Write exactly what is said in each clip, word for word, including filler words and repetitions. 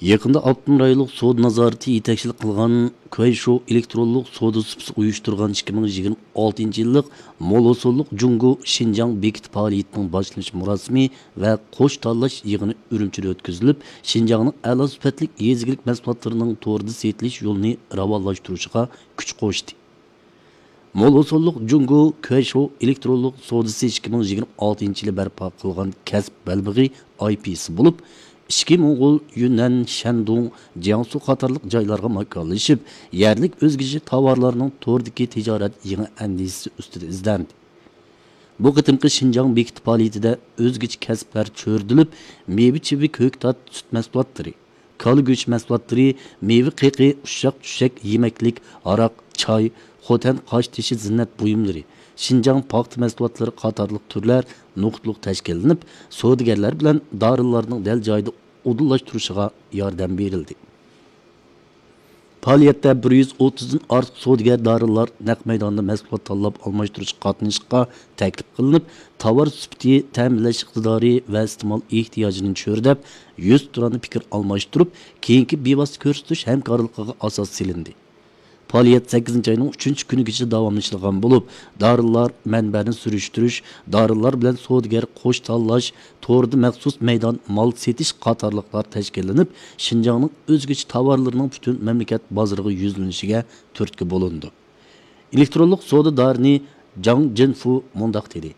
يېقىندا ئاپتونوم رايونلۇق سودا نازارىتى يېتەكچىلىك قىلغان كۇەيشو ئېلېكترونلۇق سودا سۇپىسى ئۇيۇشتۇرغان ئىككى مىڭ يىگىرمە ئالتىنچى يىللىق مول ھوسۇللۇق جۇڭگو شىنجاڭ بېكىتى پائالىيىتىنىڭ باشلىنىش مۇراسىمى ۋە قوش تاللاش يىغىنى ئۈرۈمچىدە ئۆتكۈزۈلۈپ، شىنجاڭنىڭ ئەلا سۈپەتلىك يېزا ئىگىلىك مەھسۇلاتلىرىنىڭ توردا سېتىلىش يولىنى راۋانلاشتۇرۇشىغا كۈچ قوشتى. مول ھوسۇللۇق جۇڭگو كۈەيشو ئېلېكترونلۇق سودىسى ئىككى مىڭ يىگىرمە ئالتىنچى يىلى بەرپا قىلغان كەسىپ بەلبېغى ئاي پى سى بولۇپ، ئىچكى موڭغۇل، يۈننەن، شەندۇڭ، جياڭسۇ قاتارلىق جايلارغا ماكانلىشىپ، يەرلىك ئۆزگىچە تاۋارلارنىڭ توردىكى تىجارەت يېڭى ئەندىزىسى ئۈستىدە ئىزدەندى. بۇ قېتىمقى شىنجاڭ بېكىتى پائالىيىتىدە ئۆزگىچە كەسىپلەر چۆرىدىلىپ، مېۋە چىۋى، كۆكتات، سۈت مەھسۇلاتلىرى، كالا گۆشى مەھسۇلاتلىرى، مېۋە قېقى، ئۇششاق چۈشەك يېمەكلىك، ھاراق، چاي، خوتەن قاشتېشى زىننەت بۇيۇملىرى، شىنجاڭ پاختا مەھسۇلاتلىرى قاتارلىق تۈرلەر نۇقتىلىق تەشكىللىنىپ، سودىگەرلەر بىلەن دارىلارنىڭ دەل جايىدا ئۇدۇللاشتۇرۇشىغا ياردەم بېرىلدى. پائالىيەتتە بىر يۈز ئوتتۇزدىن ئارتۇق سودىگەر دارىلار نەق مەيداندا مەھسۇلات تاللاپ ئالماشتۇرۇشقا قاتنىشىشقا تەكلىپ قىلىنىپ، تاۋار سۈپىتى، تەمىنلەش ئىقتىدارى ۋە ئىستېمال ئېھتىياجىنى چۆرىدەپ، يۈزتۇرانە پىكىر ئالماشتۇرۇپ، كېيىنكى بىۋاسىتە كۆرسىتىش ھەمكارلىقىغا ئاساس سېلىندى. پائالىيەت سەككىزىنچى ئاينىڭ ئۈچىنچى كۈنىگىچە داۋاملىشىدىغان بولۇپ، دارىلار مەنبەنى سۈرۈشتۈرۈش، دارىلار بىلەن سودىگەر قوش تاللاش، توردا مەخسۇس مەيدان مال سېتىش قاتارلىقلار تەشكىللىنىپ، شىنجاڭنىڭ ئۆزگىچە تاۋارلىرىنىڭ پۈتۈن مەملىكەت بازىرىغا يۈزلىنىشىگە تۈرتكە بولۇنىدۇ. ئېلېكترونلۇق سودا دارىنى جاڭ جىنفۇ مۇنداق دېدى: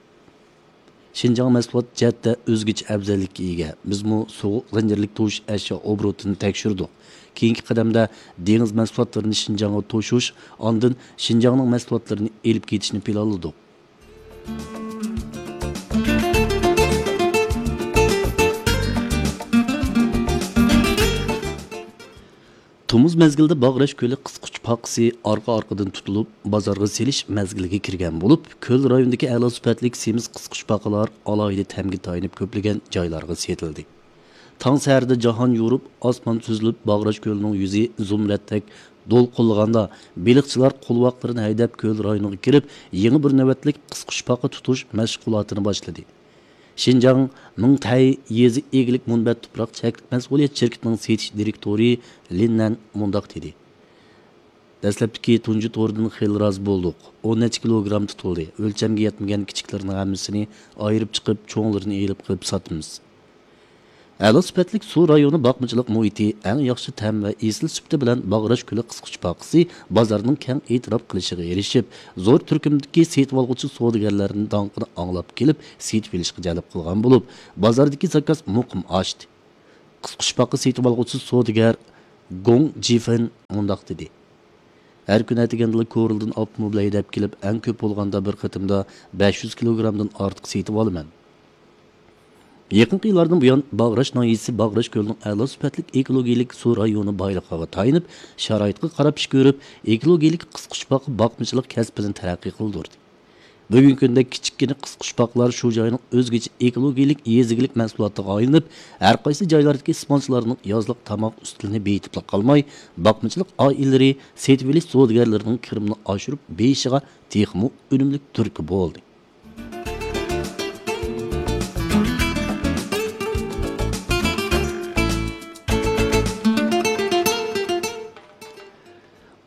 شىنجاڭ مەھسۇلات جەھەتتە ئۆزگىچە ئەۋزەللىككە ئىگە. بىزمۇ سوغۇق زەنجىرلىك توشۇش ئەشيا ئوبوروتىنى تەكشۈردۇق. كېيىنكى قەدەمدە دېڭىز مەھسۇلاتلىرىنى شىنجاڭغا توشۇش، ئاندىن شىنجاڭنىڭ مەھسۇلاتلىرىنى ئېلىپ كېتىشنى پىلانلىدۇق. تومۇز مەزگىلىدە باغراش كۆلى قىسقۇچ پاقىسى ئارقا-ئارقىدىن تۇتۇلۇپ، بازارغا سېلىش مەزگىلىگە كىرگەن بولۇپ، كۆل رايونىدىكى ئەلا سۈپەتلىك سېمىز قىسقۇچ پاقىلار ئالاھىدە تەمگە تايىنىپ كۆپلىگەن جايلارغا سېتىلدى. تاڭ سەھەردە جاھان يورۇپ، ئاسمان سۈزۈلۈپ، باغراش كۆلىنىڭ يۈزى زۇمرەتتەك دولقۇنلىغاندا، بېلىقچىلار قولۋاقلىرىنى ھەيدەپ، كۆل رايونىغا كىرىپ، يېڭى بىر نۆۋەتلىك قىسقۇچ پاقا تۇتۇش مەشغۇلاتىنى باشلىدى. شىنجاڭ مىڭتەي يېزا ئىگىلىك مۇنبەت تۇپراق چەكلىك مەسئۇلىيەت شىركىتىنىڭ سېتىش دىرېكتورى لىن نەن مۇنداق دېدى: دەسلەپتىكى تۇنجى توردىن خېلى رازى بولدۇق. ئون نەچچە كىلوگرام تۇتۇلدى. ئۆلچەمگە يەتمىگەن كىچىكلىرىنىڭ ھەممىسىنى ئايرىپ چىقىپ، چوڭلىرىنى ئېلىپ قىلىپ ساتىمىز. ئەلا سۈپەتلىك سۇ رايونى باقمىچىلىق مۇھىتى، ئەڭ ياخشى تەم ۋە ئېسىل سۈپىتى بىلەن باغراش كۆلى قىسقۇچ پاقىسى بازارنىڭ كەڭ ئېتىراپ قىلىشىغا ئېرىشىپ، زور تۈركۈمدىكى سېتىۋالغۇچى سودىگەرلەرنىڭ داڭقىنى ئاڭلاپ كېلىپ، سېتىۋېلىشقا جەلپ قىلغان بولۇپ، بازاردىكى زاكاز مۇقىم ئاشتى. قىسقۇچ پاقا سېتىۋالغۇچى سودىگەر گوڭ جىفېن مۇنداق دېدى: ھەر كۈنى ئەتىگەندىلا كورلىدىن ئاپتوموبىل ھەيدەپ كېلىپ، ئەڭ كۆپ بولغاندا بىر قېتىمدا بەش يۈز كىلوگرامدىن ئارتۇق سېتىۋالىمەن. يېقىنقى يىللاردىن بۇيان، باغراش ناھىيەسى باغراش كۆلىنىڭ ئەلا سۈپەتلىك ئېكولوگىيەلىك سۇ رايونى بايلىقىغا تايىنىپ، شارائىتقا قاراپ ئىش كۆرۈپ، ئېكولوگىيەلىك قىسقۇچ پاقا باقمىچىلىق كەسپىنى تەرەققىي قىلدۇردى. بۈگۈنكى كۈندە كىچىككىنە قىسقۇچ پاقىلار شۇ جاينىڭ ئۆزگىچە ئېكولوگىيەلىك يېزا ئىگىلىك مەھسۇلاتىغا ئايلىنىپ، ھەر قايسى جايلاردىكى ئىستېمالچىلارنىڭ يازلىق تاماق ئۈستىلىنى بېيىتىپلا قالماي، باقمىچىلىق ئائىلىلىرى سېتىۋېلىش سودىگەرلىرىنىڭ كىرىمىنى ئاشۇرۇپ بېيىشىغا تېخىمۇ ئۈنۈملۈك تۈرتكە بولدى.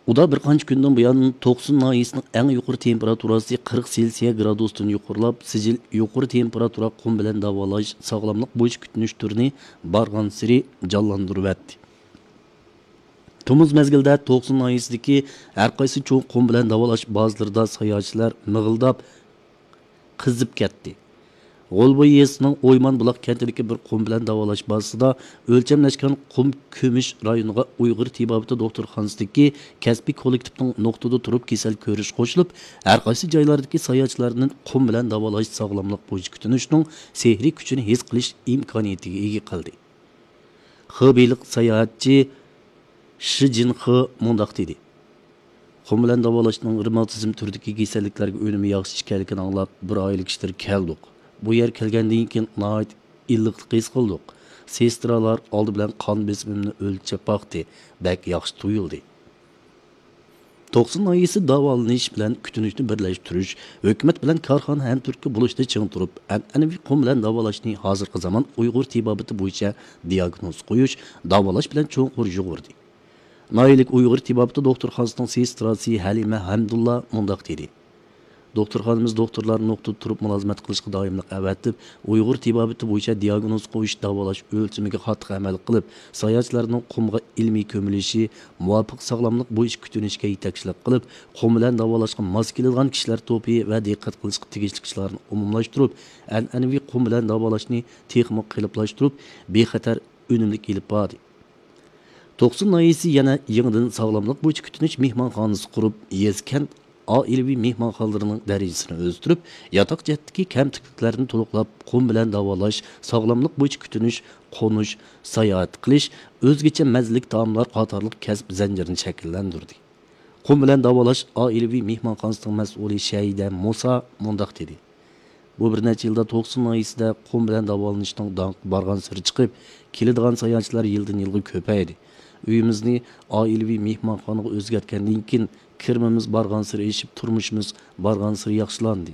ئۇدا بىر قانچە كۈندىن بۇيان، توقسۇن ناھىيەسىنىڭ ئەڭ يۇقىرى تېمپېراتۇراسى قىرىق سېلسىيە گرادۇستىن يۇقىرىلاپ، سىجىل يۇقىرى تېمپېراتۇرا قۇم بىلەن داۋالاش، ساغلاملىق بويىچە كۈتۈنۈش تۈرىنى بارغانسېرى جانلاندۇرۇۋەتتى. تومۇز مەزگىلىدە توقسۇن ناھىيەسىدىكى ھەر قايسى چوڭ قۇم بىلەن داۋالاش بازىلىرىدا ساياھەتچىلەر مىغىلداپ، قىزىپ كەتتى. غولبوي يېزىسىنىڭ ئويمان بۇلاق كەنتىدىكى بىر قۇم بىلەن داۋالاش بازىسىدا ئۆلچەملەشكەن قۇم كۆمۈش رايونىغا ئۇيغۇر تېبابىتى دوختۇرخانىسىدىكى كەسپىي كوللېكتىپنىڭ نۇقتىدا تۇرۇپ كېسەل كۆرۈش قوشۇلۇپ، ھەر قايسى جايلاردىكى ساياھەتچىلەرنى قۇم بىلەن داۋالاش ساغلاملىق بويىچە كۈتۈنۈشنىڭ سېھرىي كۈچىنى ھېس قىلىش ئىمكانىيىتىگە ئىگە قىلدى. خېبېيلىق ساياھەتچى شى جىنخې مۇنداق دېدى: قۇم بىلەن داۋالاشنىڭ رېماتىزم تۈرىدىكى كېسەللىكلەرگە ئۈنۈمى ياخشى ئىكەنلىكىنى ئاڭلاپ، بىر ئائىلە كىشىلىرى كەلدۇق. بۇ يەرگە كەلگەندىن كېيىن ناھايىتى ئىللىقلىق ھېس قىلدۇق. سېسترالار ئالدى بىلەن قان بېسىمىمنى ئۆلچەپ باقتى، بەك ياخشى تۇيۇلدى. توقسۇن ناھىيەسى داۋالىنىش بىلەن كۈتۈنۈشنى بىرلەشتۈرۈش، ھۆكۈمەت بىلەن كارخانا ھەمكارلىقتا بولۇشتا چىڭ تۇرۇپ، ئەنئەنىۋى قۇم بىلەن داۋالاشنى ھازىرقى زامان ئۇيغۇر تېبابىتى بويىچە دىياگنوز قويۇش، داۋالاش بىلەن چوڭقۇر يۇغۇردى. ناھىيەلىك ئۇيغۇر تېبابىتى دوختۇرخانىسىنىڭ سېستراسى ھەلىمە ھەمدۇللا مۇنداق دېدى: دوختۇرخانىمىز دوختۇرلار نۇقتىدا تۇرۇپ مۇلازىمەت قىلىشقا دائىملىق ئەۋەتىپ، ئۇيغۇر تېبابىتى بويىچە دىياگنوز قويۇش، داۋالاش ئۆلچىمىگە قاتتىق ئەمەل قىلىپ، ساياھەتچىلەرنىڭ قۇمغا ئىلمىي كۆمۈلۈشى، مۇۋاپىق ساغلاملىق بويىچە كۈتۈنۈشكە يېتەكچىلىك قىلىپ، قۇم بىلەن داۋالاشقا ماس كېلىدىغان كىشىلەر توپى ۋە دىققەت قىلىشقا تېگىشلىك ئىشلارنى ئومۇملاشتۇرۇپ، ئەنئەنىۋى قۇم بىلەن داۋالاشنى تېخىمۇ قېلىپلاشتۇرۇپ، بىخەتەر، ئۈنۈملۈك ئېلىپ باردى. توقسۇن ناھىيەسى يەنە يېڭىدىن ساغلاملىق بويىچە كۈتۈنۈش مېھمانخانىسى قۇرۇپ، يېزا، كەنت ئائىلىۋى مېھمانخانىلىرىنىڭ دەرىجىسىنى ئۆستۈرۈپ، ياتاق جەھەتتىكى كەمتۈكلۈكلەرنى تولۇقلاپ، قۇم بىلەن داۋالاش، ساغلاملىق بويىچە كۈتۈنۈش، قونۇش، ساياھەت قىلىش، ئۆزگىچە مەززىلىك تائاملار قاتارلىق كەسىپ زەنجىرىنى شەكىللەندۈردى. قۇم بىلەن داۋالاش ئائىلىۋى مېھمانخانىسىنىڭ مەسئۇلى شەھىدە مۇسا مۇنداق دېدى: بۇ بىر نەچچە يىلدا توقسۇن ناھىيەسىدە قۇم بىلەن داۋالىنىشنىڭ داڭقى بارغانسېرى چىقىپ، كېلىدىغان ساياھەتچىلەر يىلدىن يىلغا كۆپەيدى. ئۆيىمىزنى ئائىلىۋى مېھمانخانىغا ئۆزگەرتكەندىن كېيىن، كىرىمىمىز بارغانسېرى ئېشىپ، تۇرمۇشىمىز بارغانسېرى ياخشىلاندى.